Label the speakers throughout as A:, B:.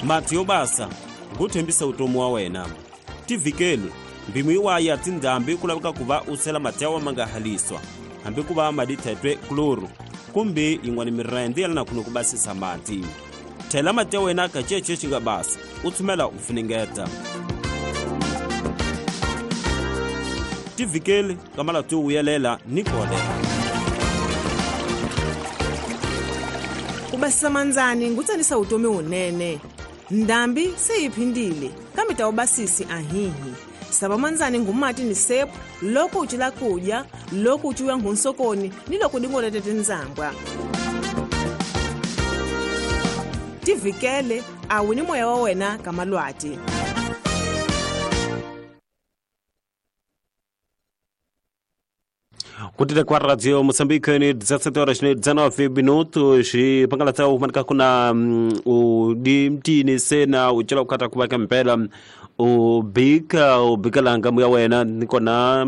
A: Mati yo basa nguthembisa utomi wa wena. Tivhikeli mbimu yiwaya tindhambi ku laveka ku va u sela mati ya wa ma nga haliswa hambi ku va madi thetwe kloro kumbe yin'wana mirende ya lana ku basisa mati. Thela mati ya wena ka cece xi nga basa u tshumela u funengeta. Tivhikeli ka malati yo vuyelela ni kolera.
B: Ku basisa mandzani ngutsanisa vutomi wunene. Ndhambi se yi phindile kambe ta ubasisi ahihi. Sava mandzani ngumati ni sepu loko u cila kudya, loko u ciwa nghunsokoni ni loko dingolete tindzambwa. Tivikele a wu ni moya wa wena ka malwati.
A: Kutile kwa Radio Moçambique ni 17 horas ni 19 minutos xi pangalatsa u manika kuna u di mtini sena u cela ukata kuva ka mpela u bika u bikalanga muya wena nikona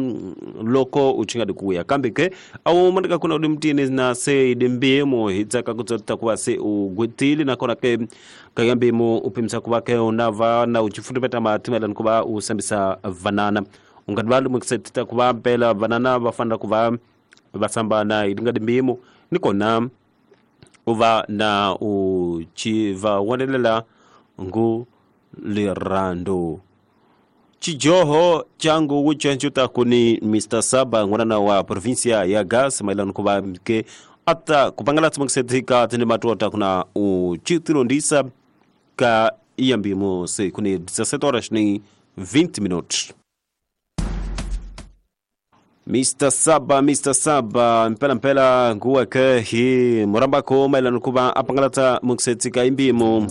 A: loko u chinga dikuya kambe ke au manika kuna udi mtini na se di mbimu hitsaka kutsota kuva se u gwetile nakona ke kayambimu upimisa kuva ke unava na uchifundimeta matimela nikuva u sambisa vanana. Ungadivali mukisetita kuva mpela vanana va fanela ku va va sambana hi tingadi mbimo nikona u va na u chi va wonelela ngu lirando. Chijoho changu wuchenchu takuni Mr. Saba ngwana wa provincia ya Gas mailano kuva ke ata kupangala tsimukisetika tine matota kuna u chitirondisa ka iyambimo se kuni 17 horas ni 20 minutos. Mr. Saba mpela mpela nguwa ke hi murambako mailano kuva apangalata mukisetika imbimo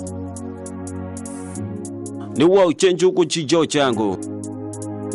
A: ni wa uchenju kuchijo changu.